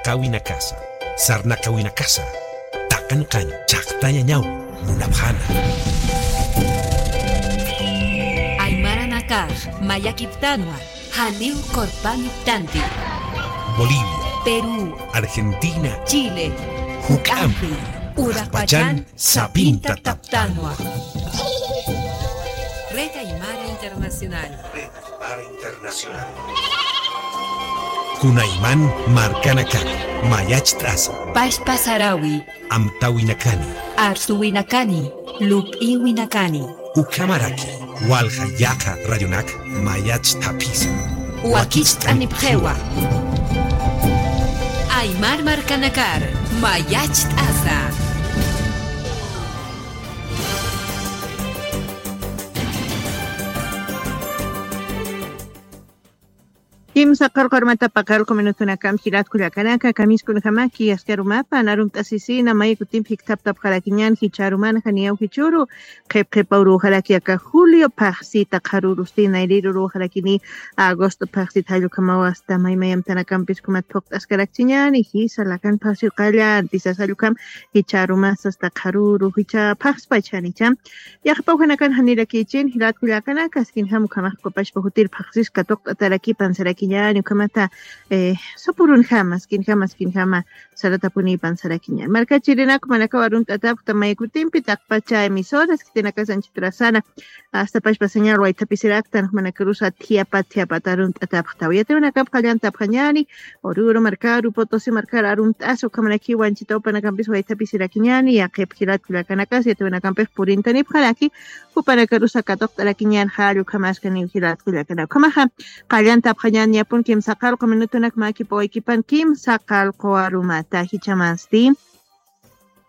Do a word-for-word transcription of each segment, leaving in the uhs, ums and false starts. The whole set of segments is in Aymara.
Qawinakasa, sarnaqawinakasa, taqanqañ chhaqtañañaw munapxana. Aymaranakax mayakiptanwa, janiw qurpañiptanti. Bolivia, Perú, Argentina, Chile, juk'ampi, uraqpachan sapinta taptanwa. Red Aymara Internacional. Red Aymara Internacional. Kunayman markanakani mayacht'asa. Pashpa sarawi. Amtawinakani. Arsuwinakani. Lup'iwinakani. Ukhamaraki walja yaqha radionak mayacht'apisa. Wakicht'anipxiwa. Aymar markanakar mayacht'asa. Kimsa qarqarmata paqallqu minutunakampi jilat kullakanaka, kamiskunjamaki askarumapa narumt'asisina maykutimpi jiktaptapxarakiñan jicharuman janiyaw jichuru qhip qhipa uruxaraki aka julio phaxsita qharurustina iriru uruxarakini agosto phaxsita jallukamaw asta maymayamtanakampis kumat phuqt'askarakchiñani jisa lakan phaxsiw qallanti sasa jallukam jicharumas asta qharuru jicha phaxspachanicha. Yaqpa ujanakan janirakichin jilat kullakanaka askinjam ukhamax ukapachpa jutir phaxsis katuqt'atarakipan sarakiñani ukhamata sapurunjama askinjama askinjama saratapunipan sarakiñani markachirinak jumanakaw arunt'atapxta maykutimpi taqpacha emisoras khitinakasanchitrasana asta pachpa señal waythapisiraktan jumanakarusa thiapat thiapat arunt'atapxtaw yatiwanakap qallantapxañani ururu markaru potosi markar arunt'asa ukhamanaki wanchitawpanakampis waythapisirakiñani yaqhip jilat kullakanakas yatiwanakampix purintanipxaraki jupanakarusa katuqt'arakiñan jall ukhamaskaniw jilat kullakana ukhamaxa qallantapxañan yapun kimsa qallqu minutunak mäkipawaykipan kimsa qallqu arumata jichamansti.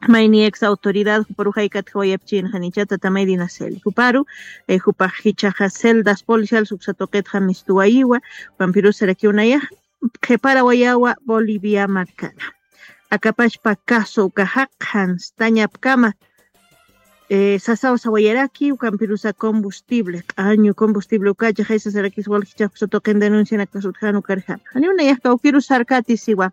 Mayni ex autoridad juparu jaykatjawayapchin janicha tatamay dinaceli juparu jupax jichaxa celdas policial suksa tuqitxa mistuwayiwa jupampirusarakiw nayax qhiparawayawa bolivia markana akapachpa caso ukaxa qhanstañapkama sasaw sawayaraki ukampirusa combustible q'añu combustible ukacha jaysasarakis waljichapsa tuqin denuncianakasutjan ukarjama janiw nayax kawkirus sarkati siwa.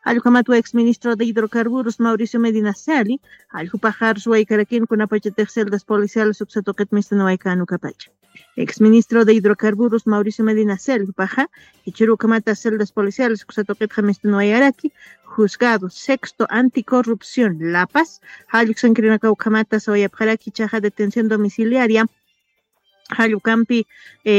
Jallukhamatwa ex ministro de hidrocarburos mauricio medina sali jallukhupaxarus waykarakin kunapachatix celdas policiales uksa tuqit mistunuwaykan ukapacha ex ministro de hidrocarburos mauricio medina sali jupaxa jichhuru ukhamata celdas policiales uksa tuqitxa mistunuwayaraki juzgado sexto anticorrupción la paz jalluksankirinaka ukhamata sawayapxaraki jichaxa detención domiciliaria jallukampi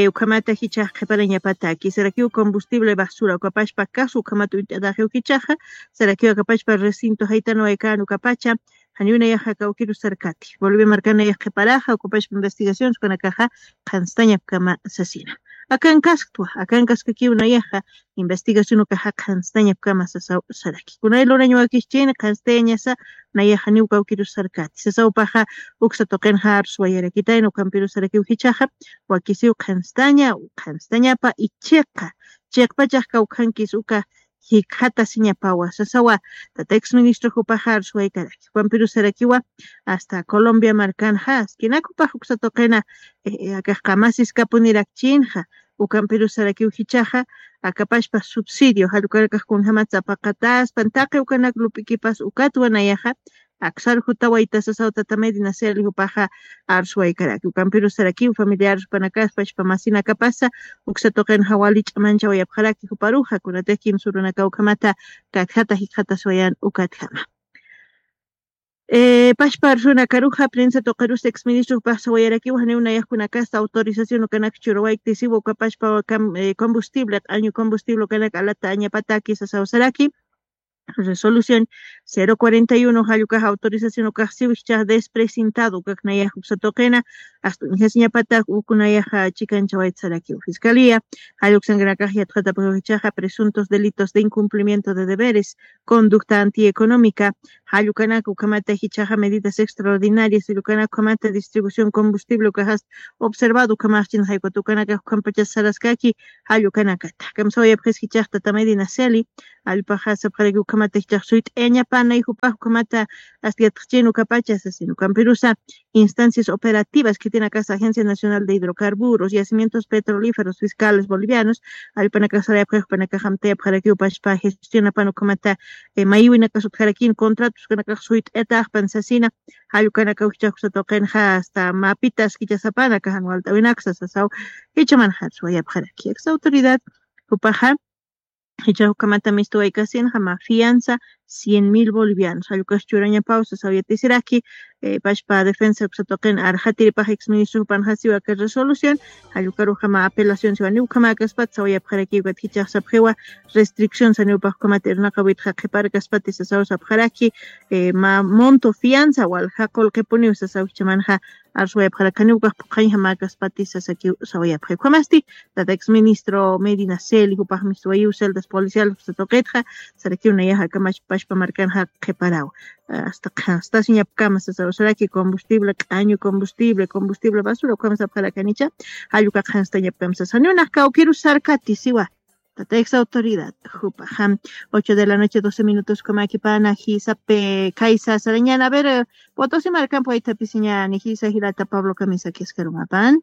ukhamata jichax qhiparañapataki sarakiw combustible basura ukapashpa caso ukhamata uñt'ataxiw jichaxa sarakiw akapashpa recinto jaytanawaykan ukapacha janiw nayaxa kawkiru sarkati bolivia markanayax qhiparaxa ukapashpa investigaciones ukanakaxa qhanstañapkama sasina akan kasktwa akan kaskakiw nayaxa investigación ukaxa qhanstañapkama sasaw saraki kunay lurañawakischini qhanstayañasa nayaxa niw kawkiru sarkati sasawpaxa uksa tuqinxa arsuwayarakitayna ukampiru sarakiw jichaxa wakisiw qhanstaña qhanstañapa ichiqa chiqpachax kawkhankis uka jikxatasiñapawa sasawa tata ex ministro jupaxa arsuwaykaraki ukampiru sarakiwa asta colombia markanxa askinakupax uksa tuqina akax qamasiskapunirakichïnxa ukampirus sarakiw jichhaxa akapashpa subsidio jallukanakax kunjämat sapaqataspan taqi ukanak lup'ikipas ukatwa nayaxa aksar jutawayta sasaw tata medina seli jupaxa arsuwaykaraki ukampirus sarakiw familiares jupanakaspach pamasinakapasa uksa tuqinxa wali ch'amanchawayapxaraki juparuxa kunatix kimsa urunakaw ukhamata katjata jikxatasiwayan ukatjama pashpa arsunakaruxa prensa tuqirus ex ministro jupax sawayarakiw janiw nayax kunakasta autorización ukanak churawayktisiw ukapashpa combustible q'añu combustible ukanak alata añapataki sasaw saraki resolución cero cuarenta y uno jallukax autorización ukax siw jichhax despresentado ukak nayax uksa tuqina asta uñjasiñapatak uk nayaxa chikanchawayta sarakiw fiscalía jalluksankanakax yatxatapxiw jichhaxa presuntos delitos de incumplimiento de deberes conducta antieconómica jallukanaka ukhamata jichhaxa medidas extraordinarias jallukanaka ukhamata distribución combustible ukaxasta observado ukhamaxchin jaykuta ukanakax ukhampachas saraskaki jallukanakata kamsawayapxis jichhax tata medina seli jallpaxa sapxaraki ukhamata jichhax suyt'ayañapanay jupax ukhamata asta yatxachin ukapacha sasin ukampirusa instancias operativas que tiene acá esta Agencia Nacional de Hidrocarburos, yacimientos petrolíferos, fiscales bolivianos, alpanaka sarayapxaxpanaka jamtayapxarakiw pashpa gestionapan ukhamata, eh, mayiwinakasutjarakin contratos kanakax suyt'etaxpan sasina, jallukanaka ujchakusatuqinxa hasta mapitas kichasapanaka jan walt'awinaksa sasaw, ichaman jatswayapxaraki aksa autoridad jupaxa. Icha ukamata mistuwaykasinxa ma fianza cien mil bolivianos jallukas churañapaw sasaw yatisiraki. Eh, pashpa defensa kusatuqin arxatiripax exministro jupanxasiwa aka resolución, jallukaruxama apelación siwani ukamakaspat sawayapxarakiwkat jichaxsapxiwa restricción saniwpax ukamata irnaqawitxa qhiparkaspati sasaw sapxaraki. Eh, ma monto fianza walja qulqipuniw sasaw jichamanxa arswayapxarakaniw ukax phuqhañja mäkaspati sasakiw sawayapxi ukhamasti. Tata ex ministro Medina Celi jupax mistuwayiw celdas policial satuqitxa sarakiw nayaxa kamach pashpa markanxa qhiparaw. Hasta qhanstasiñapkama sasaw saraki combustible q'añu combustible combustible basura ukham sapxarakanicha. Jalluka qhanstañapkama sasaniw nax kawkiru sarkati siwa. Tata ex autoridad jupaxa. Ocho de la noche doce minutos kumakipana jisape kaysa sarañana a ver. Potosi markampa waytapisiñani jisa jilata pablo kamisaki askarumapan.